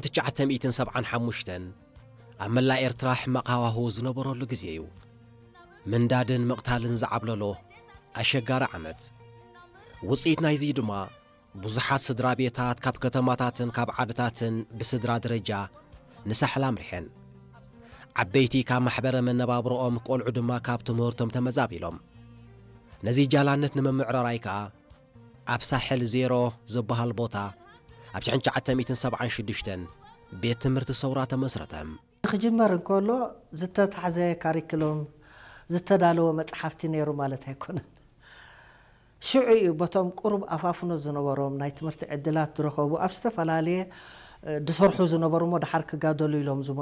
ትሽዓተ ሚእትን ሰብዓን ሓሙሽተን ኣብ መላእ ኤርትራ ሕማቕ ሃዋህው ዝነበረሉ ግዜ እዩ። ምንዳድን ምቕታልን ዝዓብለሎ ኣሸጋሪ ዓመት። ውጽኢት ናይዚ ድማ ብዙሓት ስድራ ቤታት ካብ ከተማታትን ካብ ዓድታትን ብስድራ ደረጃ ንሳሕል ኣምሪሐን። ዓበይቲ ካብ ማሕበረ መነባብሮኦም፣ ቆልዑ ድማ ካብ ትምህርቶም ተመዛቢሎም። ነዚ ጃላነት ንምምዕራራይ ከኣ ኣብ ሳሕል ዜሮ ዝበሃል ቦታ ኣብ ሽሕን ትሽዓተ ሚእትን ሰብዓን ሽዱሽተን ቤት ትምህርቲ ሰውራ ተመስረተ። ክጅመር እንከሎ ዝተታሕዘ ካሪክሎም ዝተዳለወ መጽሓፍቲ ነይሩ ማለት ኣይኮነን። ሽዑ እዩ በቶም ቁሩብ ኣፋፍኖ ዝነበሮም ናይ ትምህርቲ ዕድላት ዝረኸቡ ኣብ ዝተፈላለየ፣ እ፣ ዝሰርሑ ዝነበሩ እሞ ደሓር ክጋደሉ ኢሎም ዝመጹ